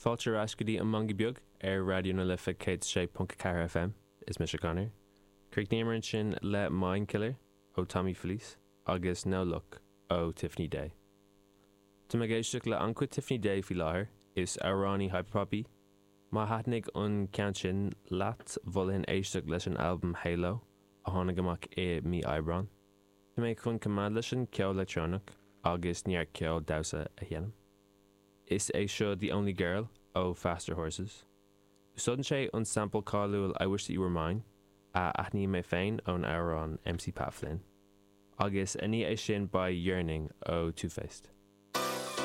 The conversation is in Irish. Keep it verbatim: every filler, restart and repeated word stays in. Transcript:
Fáilte ar ais go dtí an Mangaí Beag ar Raidió na Life céad sé ponc ceathair FM is mise Conor. Chríochnaíomar ansin le Mind Killer ó Tommy Felice agus No Luck ó Tiffany Day. Tá mé ag éisteacht le an-chuid Tiffany Day faoi láthair is amhránaí hyperpop í. Má thaitnigh an ceann sin leat mholfainn éisteacht leis an albam Halo a tháinig amach i mí Aibreán. Tá mé chun coimeád leis an ceol leictreonach agus neart ceol damhsa a sheinm. Is é seo The Only Girl ó Faster Horses. Úsáideann sé an sample cáiliúil I Wish That You Were Mine a aithním mé féin ón amhrán MC Pat Flynn. Agus i ndiaidh é sin beidh Yearning ó Two Faced.